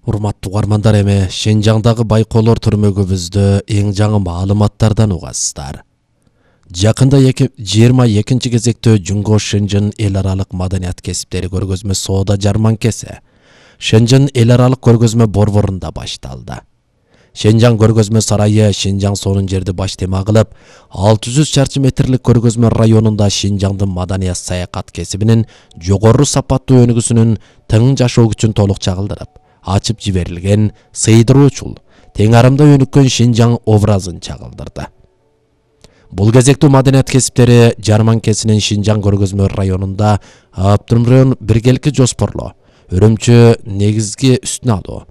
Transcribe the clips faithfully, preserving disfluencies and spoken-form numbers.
Урматтуу угармандар, эми Шинжаңдагы байкоолор түрмөгүбүздө эң жаңы маалыматтардан угасыздар. Жакында жыйырма экинчи кезектө Жунго Шэньчжэн эл аралык маданият кесиптери көргөзмө соода жарманкеси Шэньчжэн эл аралык көргөзмө борборунда башталды. Шэньчжаң көргөзмө сарайы Шинжаң сонун жерди баш тема кылып, алты жүз чарчы метрлик көргөзмө районунда Шинжаңдын маданият саякат кесибинин жогору сапаттуу өнүгүүсүнүн тың жашоо күчүн толук чагылдырып, ачып жиберилген сыйдыруучул, тең арымда өнүккөн Шинжаң образын чагылдырды. Бул кезектүү маданият кесиптери жарманкесинин Шинжаң көргөзмө районунда Аптырмрын биргеликке жоспорлоо, өрөмчү негизги үстүнө алуу,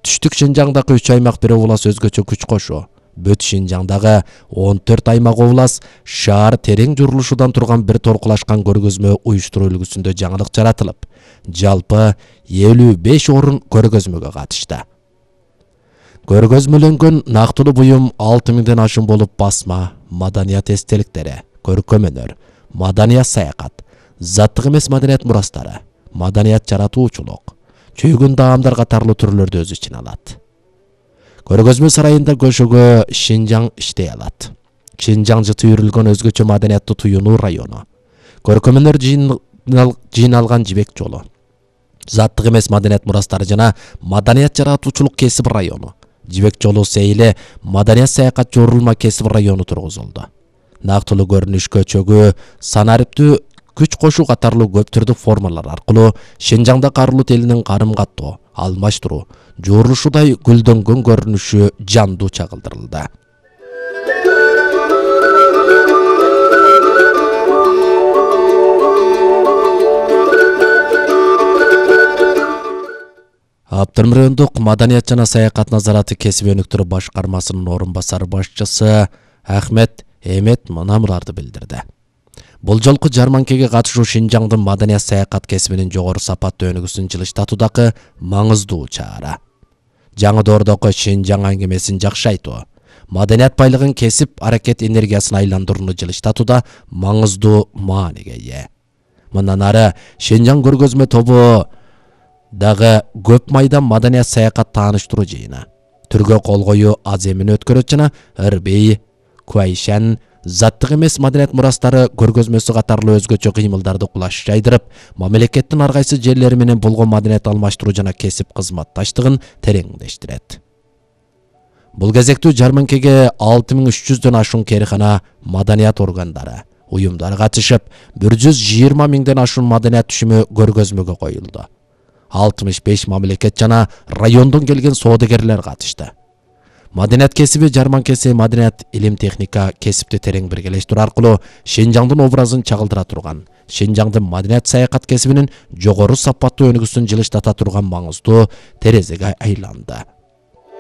түштүк Шинжаңдагы үч аймак бир облас өзгөчө күч кошуу, Бөт Шинжаңдагы он төрт аймак облас шаар терең журулушудан турган бир торкулашкан көргөзмө уюштуруу үлгүсүндө жаңылык жаратылып, жалпы элүү беш орун көргөзмөгө катышты. Көргөзмөлөнгөн нактылуу буюм алты миңден ашуун болуп басма, маданият эстеликтери, көркөм өнөр, маданият саякат, заттык эмес маданият мурастары, маданият жаратуучулук, чөйгөн даамдар катарлуу түрлөрдү өз ичине алат. Көргөзмө сарайында көшөгө Шинжаң иштей алат. Шинжаң жыты үйрүлгөн өзгөчө маданияттуу туюнуу району. Көркөм өнөр жыйналган жибек жолу. Заттык эмес маданият мурастары жана маданият жаратуучулук кесип району. Жибек жолу сейиле маданият саякат жорулма кесип району тургузулду. Нактылуу көрүнүшкө чөгүү, санариптүү күч кошуу катарлуу көп түрдүк формалар аркылуу Шинжаңда карлут элинин карым каттоо, алмаштыруу, жуурулушудай гүлдөнгөн көрүнүшү жандуу чагылдырылды. Аптырмрындык маданият жана саякат назараты кесип өнүктүрүү башкармасынын орун басары башчысы Ахмет Эмет мынамыларды билдирди. Бул жолку жарманкеге катышуу Шинжаңдын маданият саякат кесибинин жогору сапаттуу өнүгүүсүн жылыштатуудагы маңыздуу чара. Жаңы доордогу Шинжаң аңгемесин жакшы айтуу, маданият байлыгын кесип аракет энергиясына айландырууну жылыштатууда маңыздуу мааниге ээ. Мындан ары Шинжаң көргөзмө тобу дагы көп майдан маданият саякат тааныштыруу жыйыны, түргө кол коюу аз эмини өткөрөт жана Ырбей, Куайшан, заттык эмес маданият мурастары көргөзмөсү катарлуу өзгөчө кыймылдарды кулаш жайдырып, мамлекеттин ар кайсы жерлери менен болгон маданият алмаштыруу жана кесип кызматташтыгын тереңдештирет. Бул кезектүү жарманкеге алты миң үч жүздөн ашуун кээрихана, маданият органдары, уюмдар катышып, бир жүз жыйырма миңден ашуун маданият түшүмү көргөзмөгө коюлду. алтымыш беш мамлекет жана райондон келген соодагерлер катышты. Маданият кесиби жарманкеси маданият илим техника кесипти терең биргелештирүү аркылуу Шинжаңдын образын чагылдыра турган, Шинжаңдын маданият саякат кесибинин жогору сапаттуу өнүгүүсүн жылыштата турган маңыздуу терезеге айланды.